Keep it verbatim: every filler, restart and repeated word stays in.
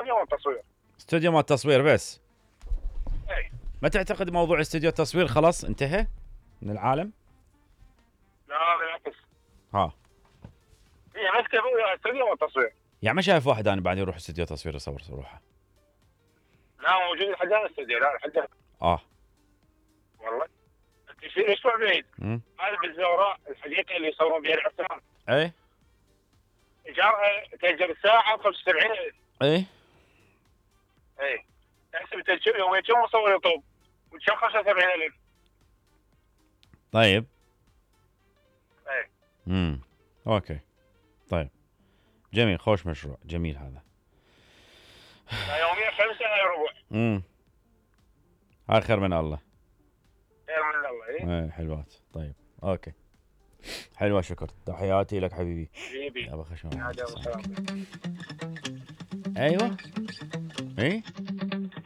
استوديو التصوير. استوديو مال التصوير بس. اي. ما تعتقد موضوع استوديو التصوير خلاص انتهى من العالم؟ لا بالعكس. ها. هي مكتب استوديو مال التصوير. يعني ما شايف واحد انا بعد يروح استوديو تصوير يصور روحه. لا موجود لحد الان استوديو، لا لحد اه والله. في اسبوع بعيد. امم هذا بالزوراء الحديقه اللي يصورون بها الافلام. اي ايجارها تاجر الساعه خمسة وسبعين ألف. اي اي. تحسب تاجر يوميا كم مصور يطوب؟ وكم خمسة وسبعين ألف. طيب. اي. امم اوكي طيب جميل، خوش مشروع جميل هذا. يوميا خمسة هاي ربع. امم هاي خير من الله. خير من الله. اي اي حلوات. طيب اوكي حلوة، شكر، تحياتي لك حبيبي. حبيبي يا بخشم. هذا ايوه اي